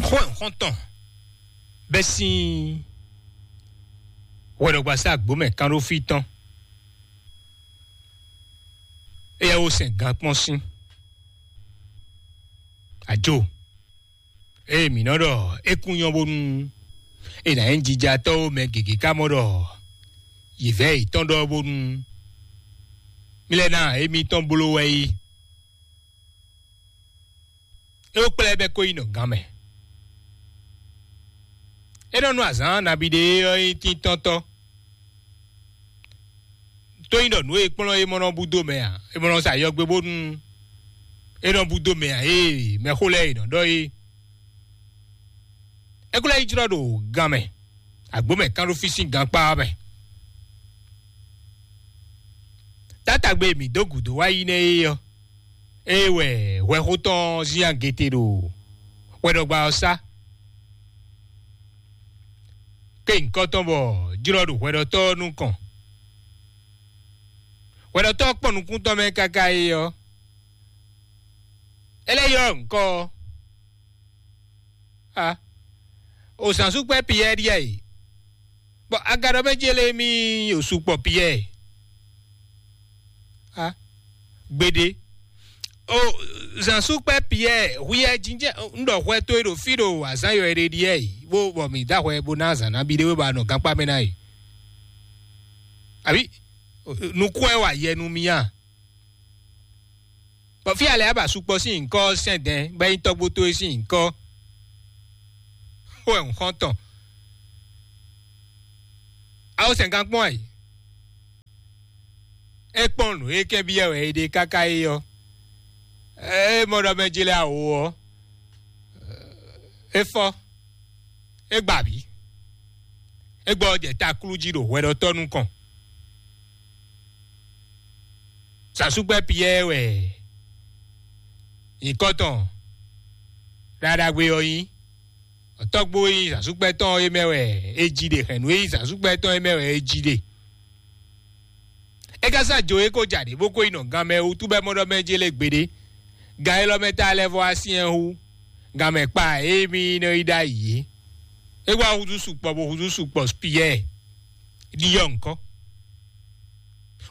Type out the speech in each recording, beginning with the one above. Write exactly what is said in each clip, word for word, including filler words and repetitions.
Xó ɛ xɔ́ntɔn bɛ́ sín hwɛɖɔgbasá gbǒmɛ kánɖófí tɔn. Éyɛ́ wó sɛn gan kpɔ́n sín ajo. Ée mǐ nɔ ɖɔ é kún nyɔ́ bónú è nǎ nyí jijatɔ́ ó, mɛ gěgé ka mɔ ɖɔ yě vɛ́ yětɔn ɖɔ bónú mí lɛ́ ná émítɔn bló wɛ é. É wó kplá ɛ bɛ́ kó yi nɔ gǎn mɛ. É nɔ nú azǎn nabí ɖé ɔ́ nyí tíntɔ́ntɔ́. Tó nyí ɖɔ nǔ e kplɔ́n é mɔ nɔ búdó mɛ ǎ, é mɔ nɔ sa yɔgbe bónú é nɔ búdó mɛ ǎ, ée mɛxó lɛ́ɛ è nɔ ɖɔ é. É kó lɛ́ yi jlɔ́ ɖo gan mɛ, agbǒ mɛ kán ɖó fí sín gankpá ɔ́ mɛ. Tátagbe e mǐ dó gǔdo wá yi nɛ́ é ɔ́, é wɛ hwɛxó tɔn ɔ́ zín agete ɖo hwɛɖɔgba ɔ́ sá. Ké nyǐkɔ tɔn bɔ jlɔ́ ɖo hwɛɖɔtɔ́ ɔ́ nukɔn. Hwɛɖɔtɔ́ ɔ́ kpɔ́n nukún tɔn mɛ káká é ɔ́, é lɛ́ ylɔ́ nyǐkɔ ɔ́. A, o zǎnsúkpɛ́ Piyɛ́ɛ ɖíe a yi, bɔ agadɔ mɛ ce lé mì o sukpɔ Piyɛ́ɛ. A, gbeɖé. O zǎnsúkpɛ́ Piyɛ́ɛ, hwiyɛ jínjɛ́n un ɖɔ hwɛ towe ɖo fí ɖo azǎn yɔ e ɖe ɖíe yi, bó bɔ mǐ dó ahwɛ bó ná azǎn nabí ɖé wé bɔ a nɔ gankpá mɛ ná yi. Abǐ nukún wɛ wa yɛ nú mì a? Bɔ fí alɛ aba sukpɔ sín nyǐkɔ ɔ́ sɛn dɛn bɔ é nyí tɔ́gbó towe sín nyǐkɔ. Xó wɛ un xɔ́n tɔn. Awo sɛn gán kpɔ́n ayǐ. É kpɔ́n nǔ e kɛ́n byɔ́ wɛ é ɖe káká é ɔ́, é mɔ ɖɔ mɛ jlɛ́ awo ɔ́, é fɔ, é gba abǐ, é gbɔ jɛ taklú jí ɖo hwɛɖɔtɔ́ nukɔn. Sasúgbɛ́ Piyɛ́ɛ wɛ nyǐkɔ tɔn ɖaɖagbe ɔ́ nyí. Tɔ́gbó e nyí zǎnsúkpɛ́ tɔn é mɛ wɛ é jí ɖe, hɛ̌nnu e nyí zǎnsúkpɛ́ tɔn é mɛ wɛ é jí ɖe. É ka sá jo é kó ja ɖě bó kó yi nɔ ganmɛ wútu bɔ é mɔ ɖɔ mɛ jé lé gbeɖé. Gan élɔ́ mɛ ta lɛ́ vɔ wá syɛ́n hú ganmɛ kpa e mì nɔ yi ɖ'ayǐ é. É wá húzú sukpɔ bó húzú sukpɔ Piyɛ́ɛ ɖiɖɔ ŋkɔ.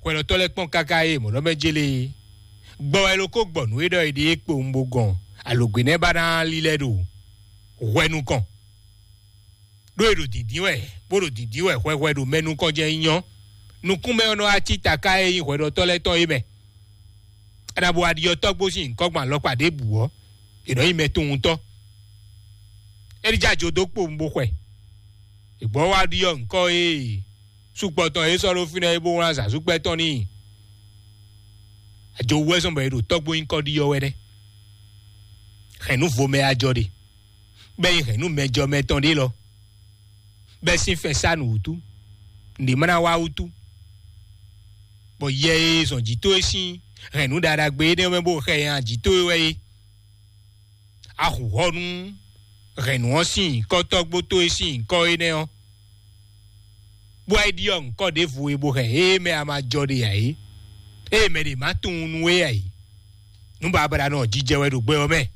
Hwɛɖɔtɔ́ lɛ́ɛ kpɔ́n káká e mɔ̌ ɖɔ mɛ jélé é. Gbɔ wɛ ló kó gbɔ nǔ e ɖɔ è ɖe é kpowun bó gɔn alǒgbe nɛ́ ba ná lílɛ́ ɖo hwɛ nukɔn. Ɖó è ɖo dǐndín wɛ, bó ɖo dǐndín wɛ hwɛhwɛ ɖo mɛ nukɔn jɛ nyɔ. Nukúnmɛ ɔ́ nɔ wá cí taká e nyí hwɛɖɔtɔ́ lɛ́ɛ tɔn é mɛ. È nǎ bo wá ɖiɖɔ tɔ́gbó sín nyǐkɔ gbɔn alɔkpa ɖěbǔ ɔ́, è nɔ nyí mɛ tunwuntɔ́. É ní jɛ ajo dó kpowun bó xwɛ. È gbɔ wá ɖiɖɔ ŋkɔ e sukpɔ tɔn e sɔ́ ɖó fínɛ́ é bó wlán zǎnsúkpɛ́ tɔn n'i. Ajo wú wɛ zɔn bɔ è ɖo tɔ́gbó nyíkɔ ɖiɖɔ wɛ nɛ́. Hɛ̌nnu vo mɛ ajɔ ɖe, bɔ é nyí hɛ̌nnu mɛ jɔ mɛ tɔn ɖé lɔ, bɔ é sín fɛn sá nǔ wútu, nǔɖé ma ná wá wútu. Bɔ yɛ e zɔn jǐ towe sín hɛ̌nnu ɖaɖagbe énɛ́ mɛ bó xɛ nya jǐ towe wɛ é. A hu hɔ nú hɛ̌nnu ɔ́ sín nyǐkɔ tɔ́gbó towe sín nyǐkɔ énɛ́ ɔ́, bó wá yi ɖiɖɔ ŋkɔ ɖěvo e bó hɛn ée mɛ a ma jɔ ɖe ǎ é, ée mɛ ɖě ma tunwun nú we ǎ é. Nǔ babla nɔ jijɛ wɛ ɖo gbɛ ɔ́ mɛ.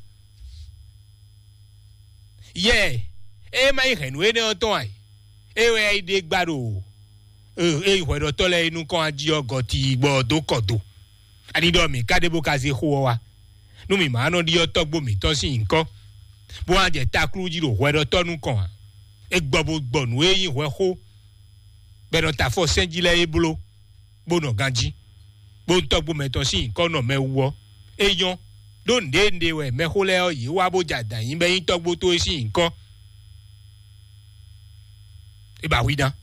Yɛ, é ma nyí hɛ̌nnu énɛ́ ɔ́ tɔn ǎ é, é wɛ yi ɖe gba ɖo é hwɛɖɔtɔ́ lɛ́ɛ e nukɔn ají ɔ́ gɔ́ tii gbɔ ɔ́ dó kɔ do. Ani ɖɔ mǐ ka ɖe bó ka zé xó ɔ́ wá, nú mǐ ma nɔ ɖiɖɔ tɔ́gbó mǐtɔn sín nyǐkɔ, bó wá jɛ taklú jí ɖo hwɛɖɔtɔ́ nukɔn ǎ. É gbɔ bó gbɔ nǔ e nyí hwɛxó, bɔ è nɔ ta afɔ sɛ́n jí lɛ́ɛ é bló, bó nɔ ganjí, bó tɔ́gbó mɛtɔn sín nyǐkɔ nɔ mɛ wú ɔ́, é nyɔ́. Ɖó nǔɖé nǔɖé wɛ mɛxó lɛ́ɛ ɔ́, yě wá bó jɛ adǎn nyi bɔ é nyí tɔ́gbó towe sín nyǐkɔ. É ba hwi ná.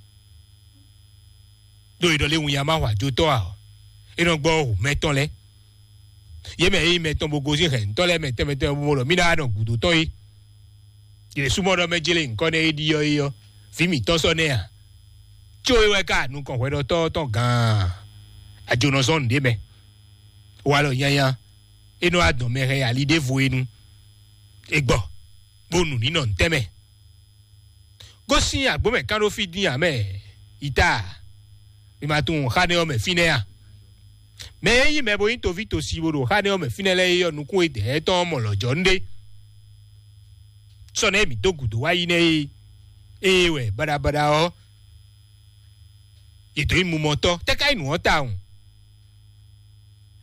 Ɖó è ɖɔ lé winnyá ma hwa jotɔ́ ǎ ɔ́, é nɔ gbɔ hǔ mɛtɔn lɛ́ɛ. Yě mɛ e nyí mɛtɔn bó gosín hɛ̌ntɔ́ lɛ́ɛ mɛ tɛnmɛ tɛnmɛ bó mɔ ɖɔ mí ná nɔ gǔdo tɔn é. Yě súnmɔ ɖɔ mɛ jélé nyǐkɔ nɛ́ é ɖiɖɔ é ɔ́, vǐ mǐtɔn sɔ́ nɛ́ ǎ. Có é wɛ ka nukɔn hwɛɖɔtɔ́ tɔn gǎn. Ajo nɔ zɔ́n nǔɖé mɛ. Walɔ nyanya, é nɔ wá dɔn mɛ hɛn ali ɖěvo é nu. É gbɔ, bó nu nǐ nɔ ntɛ́nmɛ. Gosín agbǒ mɛ kán ɖó fí dín ǎ mɛ, yi ta, mi ma tunwun xá nɛ́ ɔ́ mɛ fínɛ́ a? Mɛ e nyí mɛ bo nyí toví tosi bó ɖo xá nɛ́ ɔ́ mɛ fínɛ́ lɛ́ɛ é ɔ́, nukún e dɛ̌ tɔn ɔ́ mɔ lɔ̌jɔ́ nú ɖé. sɔ́ nɛ́ mǐ dó gǔdo wá yi nɛ́ é. Ée wɛ baɖabaɖa ɔ́, yě dǒ yi mumɔtɔ́, tɛ́ ká nyí nǔ ɔ́ tawun?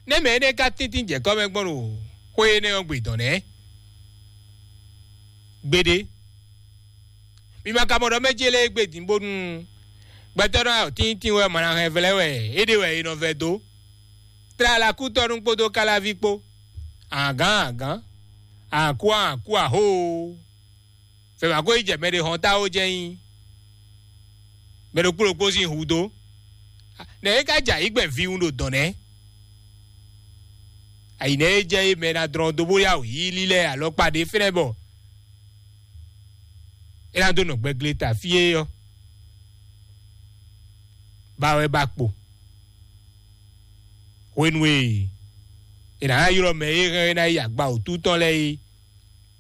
Nɛ́ mɛ énɛ́ ka tíntín jɛ kɔ́ mɛ gbɔn ɖo xwé énɛ́ ɔ́ gbe dɔn nɛ́? Gbeɖé. Mi ma ka mɔ ɖɔ mɛ ce lɛ́ɛ gbe din bónú gbɛtɔ́ nɔ tíntín wɛ mɔ ná hɛn vlɛ́ wɛ é ɖe wɛ è nɔ vɛ dó. Tlala kútɔ́nú kpódó káláví kpó. Agǎn agǎn, akú akú ahóo. Fɛ́ ma ko yi jɛ mɛ ɖé hɔn táwo jɛ́n nyí mɛ ɖokpó ɖokpó sín hu dó. Nɛ̌ é ka jɛ ayǐ gbɛn viwun ɖo dɔ̌n nɛ́? Ayǐ nɛ́ é jɛ é mɛ ná dlɔ́n dó bó yá wǔ yí lílɛ́ alɔkpa ɖé fínɛ́ bɔ é ná dó nɔ gbɛgle ta fí é ɔ́, ba wɛ ba kpo. Hwenu e è nǎ ylɔ́ mɛ e hɛn é ná yi agba wǔtu tɔn lɛ́ɛ é,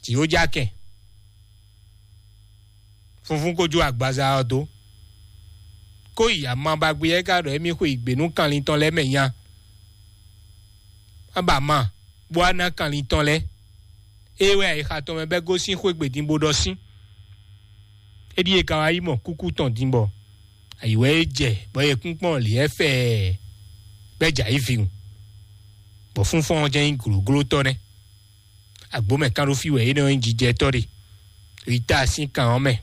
jǐ ó já kɛn. Funfun ko jó agbaza ɔ́ dó. Kó yi ama ba gbé ɛ ka ɖɔ émí xwe yi gbě nú kanlin tɔn lɛ́ɛ mɛ nya. Má ba ma, bó wá ná kanlin tɔn lɛ́ɛ. É wɛ ayixa tɔn mɛ bɛ́ gosín xwé gbědin bó ɖɔ sín. É ɖíe ka wá yi mɔ kúkú tɔn din bɔ ayǐ wɛ é jɛ bɔ yɛkúnkpɔ́n lǐ ɛ fɛɛ bɛ́ jɛ ayǐ vǐwun, bɔ fúnfɔ́n ɔ́ jɛ́n nyí glǒglótɔ́ nɛ́. Agbǒ mɛ kán ɖó fí wɛ é nɔ nyí jijɛtɔ́ ɖe. Yi ta sín kan ɔ́ mɛ.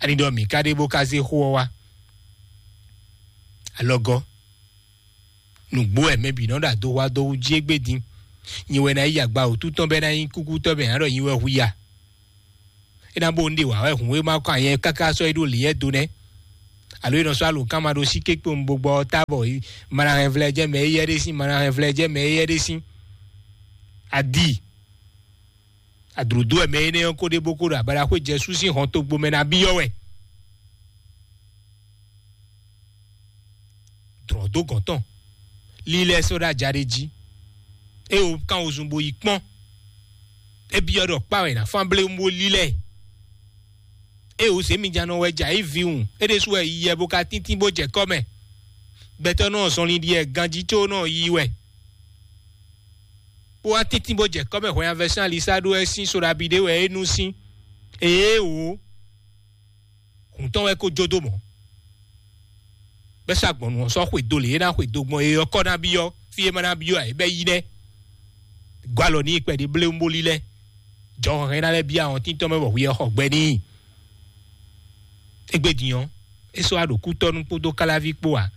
Ani ɖɔ mǐ ka ɖe bó ka zé xó ɔ́ wá. Alɔgɔ́. Nǔgbó wɛ mɛ bǐ nɔ ɖo adoxwá dó wú jí égbé din. Nyi wɛ ná yi agba wǔtu tɔn bɔ é ná nyí kúkútɔ́ mɛ ǎ ɖɔ nyi wɛ hu ya. É ná bó un ɖe wǎ wɛ hǔn e ma kɔ anyɛ káká sɔ́ é ɖó lǐyɛ́ do nɛ́. Alo é nɔ sɔ́ alǒkan ma ɖó sí kékpé un bo gbɔ ɔ́ ta bɔ ma ná hɛn vlɛ́ jɛ mɛ éyɛ́ ɖé sín, ma ná hɛn vlɛ́ jɛ mɛ éyɛ́ ɖé sín. Adi. Adlǒ dó wɛ mɛ énɛ́ ɔ́ ko ɖe bó ko ɖo abaɖaxwé Jɛsu sín hɔn togbo mɛ ná byɔ́ wɛ. Dlɔ̌ dó gɔ̌n tɔn, lílɛ́ sɔ́ ɖó ajaɖé jí. É wo kán wozun bo yi kpɔ́n. É byɔ́ ɖɔ kpá wɛ è nǎ fán bléwún bó lílɛ́ ɛ. É wo zě mi jánɔ wɛ jɛ ayǐ vǐwun, é ɖésú wɛ yi yɛ bó ka tíntín bó jɛ kɔ́ mɛ. Gbɛtɔ́ nɔ zɔnlin ɖi wɛ ganjí có nɔ yi wɛ. Bó wá tíntín bó jɛ kɔ́ mɛ hwɛnyanvɛsán Alisá ɖó wɛ sín soɖabi ɖé wɛ é nú sín. Ée wǒ. Hǔn tɔn wɛ ko jó dó mɔ̌. Bɛ́ sɔ́ agbɔ̌nnu ɔ́ sɔ́ xwedó lě e é ná xwedó gbɔn é ɔ́ kɔ́ ná byɔ́, fí e é ma ná byɔ́ ǎ, é bɛ́ yí nɛ́. Gɔ́ alɔ n'i kpɛɖé bléwún bó lílɛ́. Jɔhɔn hɛn ná lɛ́ byɔ́ ahɔntín tɔn mɛ bɔ hwi ɔ́ xɔ gbɛ n'i. Égbé din ɔ́, é sɔ́ wá ɖo kútɔ́nú kpódó káláví kpó ǎ.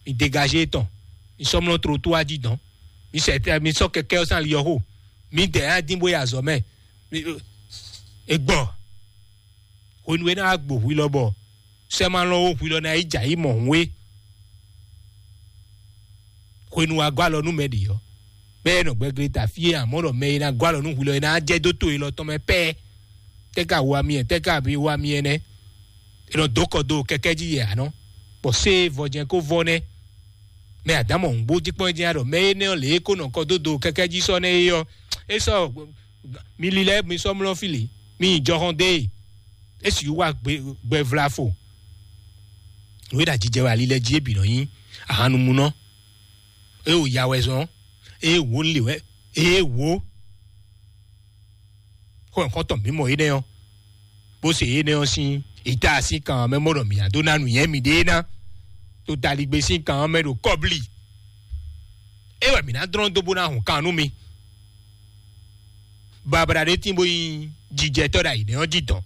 Mi degaze tɔn, mi sɔ́ mlɔ́ tlotó wá jí dɔn. Mi sɛ mi sɔ́ kɛkɛ́ ɔ́ sín ali ɔ́ xo. Mi dɛ ná dín bó yi azɔ̌ mɛ. Mi- E gbɔ. Hwenu e ná wá gbo hwi lɔ bɔ sɛ́ ma lɔn ó hwi lɔ ná yi jɛ ayǐ mɔ hǔn é. Hwenu wá gɔ́ alɔ nú mɛ ɖě ɔ́, bɛ́ ɛ nɔ gbɛgle ta fí é, amɔ̌ ɖɔ mɛ e ná gɔ́ alɔ nú hwi lɔ é ná jɛ dó to élɔ́ tɔn mɛ pɛ́. Tɛ́ ka wa mi ɛ, tɛ́ ka bi wa mi ɛ nɛ́? È nɔ dó kɔ dó kɛkɛ́ jí yɛ ǎ nɔ, bɔ sé vɔjɛn kó vɔ nɛ́. Mɛ Adamu ɔ́ bó jí kpɔ́n jɛ́n ɖɔ mɛ énɛ́ ɔ́ lě e kó nɔ kɔ dó do kɛkɛ́ jí sɔ́ nɛ́ é ɔ́, é sɔ́ mi lílɛ́ mi sɔ́ mlɔ́ fí lě, mi nyi jɔhɔn dó e, é sixú wá gbɛ vlafo. Nǔ e ɖo ajijɛ wɛ ali lɛ́ɛ jí é bǐ nɔ nyí ahannumunɔ, é wo ya wɛ zɔn, é wo lě wɛ, é wo. Xó nyǐkɔ́ntɔn mǐmɔ énɛ́ ɔ́, bó se énɛ́ ɔ́ sín ìta sín kan ɔ́ mɛ mɔ ɖɔ mǐ ná dó ná nǔnywɛ́ miɖée ná, to taligbé sín kan ɔ́ mɛ ɖo kɔ́blí. É wɛ mǐ ná dlɔ́n dó bó ná hun kan nú mi. Babla ɖé tín bó nyí jijɛtɔ́ ɖo ayǐ nɛ́ ɔ́ jí dɔn.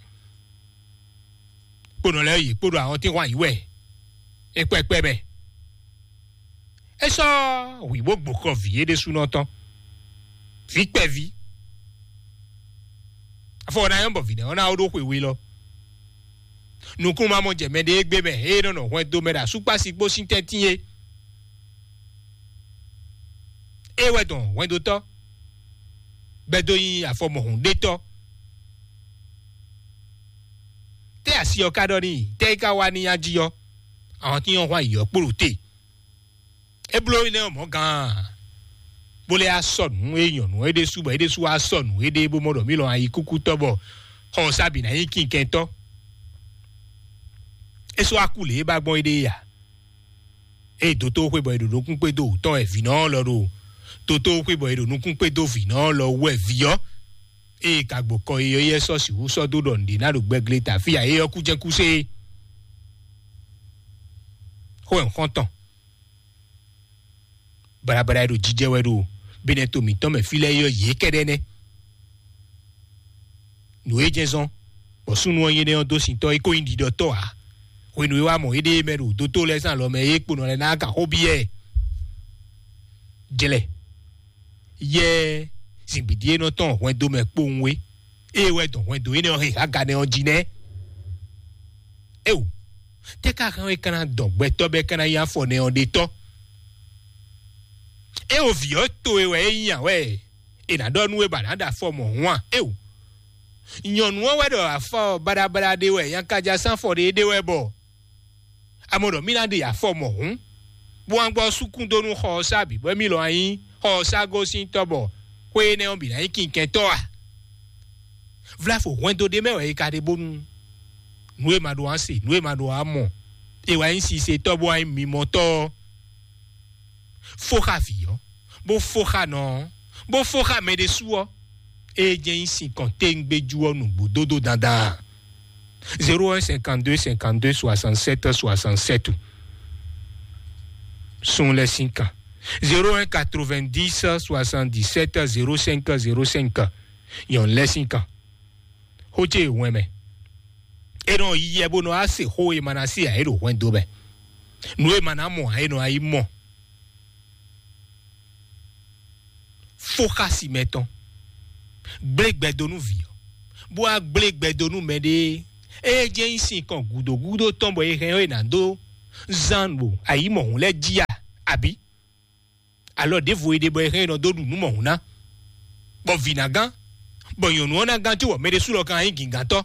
Kponɔ lɛ́ɛ yě kpo ɖo ahɔntínhwan yǐ wɛ é kpɛ́kpɛ́ mɛ. É sɔ́ hwǐ bó gbo kɔ vǐ é ɖésúnɔ tɔn. Vǐ kpɛví. Afɔ ɔ́ ná nyɔ́ bɔ vǐ nɛ́ ɔ́ ná ó ɖó xwe we lɔ. Nukúnnú ma mɔ jɛ mɛ ɖé gbé mɛ, ée nɔ nɔ hwɛndo mɛ ɖo asúkpási kpó sín tɛ́ntin é. É wɛ dɔn hwɛndotɔ́, bɛ́ dó nyí afɔmɔhun ɖétɔ́. Tɛ́ asi ɔ́ ka ɖɔ n'i, tɛ́ é ka wá n'i ají ɔ́, ahɔntín ɔ́ hwan yǐ ɔ́ kpo ɖo te. É bló énɛ́ ɔ́ mɔ̌ gaan, bó lɛ́ asɔ nǔ e nyɔ̌nu ɔ́ é ɖésú bɔ é ɖésú wá asɔ nǔ éɖée bó mɔ ɖɔ mǐ lɔn ayikúkútɔ́ bɔ xɔ ɔ́ sá bǐ ná nyí kinkɛntɔ́. É sɔ́ wá kú lě e ba gbɔn éɖée ǎ. Ée dotóxwé bɔ è ɖo nukún kpé dó wǔtɔn wɛ vǐnɔ ɔ́ lɔ ɖo dotóxwé bɔ è ɖo nukún kpé dó vǐnɔ ɔ́ lɔ wú wɛ vǐ ɔ́ Ée ka gbo kɔ e ɔ́, yɛ sɔ́ sixú sɔ́ dó ɖɔ nǔɖé ná ɖo gbɛgle ta fí a? É ɔ́ kú jɛ́n kú sé. Xó ɛ xɔ́ntɔn. Baɖabaɖa e ɖo jijɛ wɛ ɖo Benɛto mǐtɔn mɛ fí lɛ́ɛ é ɔ́, yě kɛ́ɖɛ́ nɛ́. Nǔ e jɛ́n zɔ́n bɔ súnnu ɔ́ nyí énɛ́ ɔ́ dó sintɔ́ é kó nyí ɖiɖɔtɔ́ ǎ. Hwenu e wá mɔ éɖée mɛ ɖo dótó lɛ́ɛ sín alɔ mɛ é kponɔ lɛ́ɛ ná kan xó byɔ́ ɛ. Jlɛ yɛ zǐngbídí e nɔ tɔn hwɛndo mɛ kpowun é, ée wɛ dɔn hwɛndo énɛ́ ɔ́ hɛn haganɛ ɔ́ jí nɛ́. Éo, tɛ́ ka hɛn é ka ná dɔn gbɛtɔ́ bɔ é ka ná nyí afɔ nɛ ɔ́ ɖe tɔ́? Éo, vǐ ɔ́ towe wɛ é nyí ǎ wɛ è nǎ ɖɔ nú we bɔ a nǎ ɖo afɔ mɔ̌hun a? Éo, nyɔ̌nu ɔ́ wɛ ɖɔ afɔ baɖabaɖa ɖé wɛ nyakájá sín afɔ ɖé ɖé wɛ bɔ a mɔ ɖɔ mì ná ɖe afɔ mɔ̌hun, bó wá gbɔ súkún dó nú xɔ ɔ́ sá bǐ bɔ émí lɔ wá nyí xɔ ɔ́ sá gosín tɔ́ bɔ xwé énɛ́ ɔ́ bǐ ná nyí kinkɛntɔ́ a? Vlafo hwɛndo ɖé mɛ wɛ è ka ɖe bónú nǔ e ma ɖó wá se, nǔ e ma ɖó wá mɔ, è wá nyí sisetɔ́ bó wá nyí mimɔtɔ́ ɔ́, fó xá vǐ ɔ́, bó fó xá nɔ ɔ́, bó fó xá mɛ ɖésú ɔ́, é jɛ́n nyí sinkɔn téŋgbéjú ɔ́ nǔgbó dódó dandan. Zéro un cinquante-deux cinquante-deux soixante-sept soixante-sept. Sun lɛ́ sín kan. Zéro un quatre-vingt-dix soixante-dix-sept zéro cinq zéro cinq. Nyɔ̌nu lɛ́ sín kan. Xó ce wɛn mɛ. É nɔ yɛ bó nɔ á se xó e ma ná se ǎ é ɖo hwɛndo mɛ. Nǔ e ma ná mɔ ǎ é nɔ á yi mɔ. Fó xá si mɛ tɔn. Gblé gbɛdó nú vǐ ɔ́, bó wá gblé gbɛdó nú mɛɖée. É jẹ́ nyí sin kɔn gǔdo gúdo tɔn bɔ è hɛn ɔ́ è nǎ dó zán ɖo ayǐ mɔ̌hun lɛ́ɛ jí a? Abǐ alɔ ɖěvo e ɖe bɔ è hɛn è nɔ dó ɖu nǔ mɔ̌hun ná, bɔ vǐ ná gán, bɔ nyɔ̌nu ɔ́ ná gán cóbɔ mɛ ɖésú lɔ kan nyí gǐngántɔ́.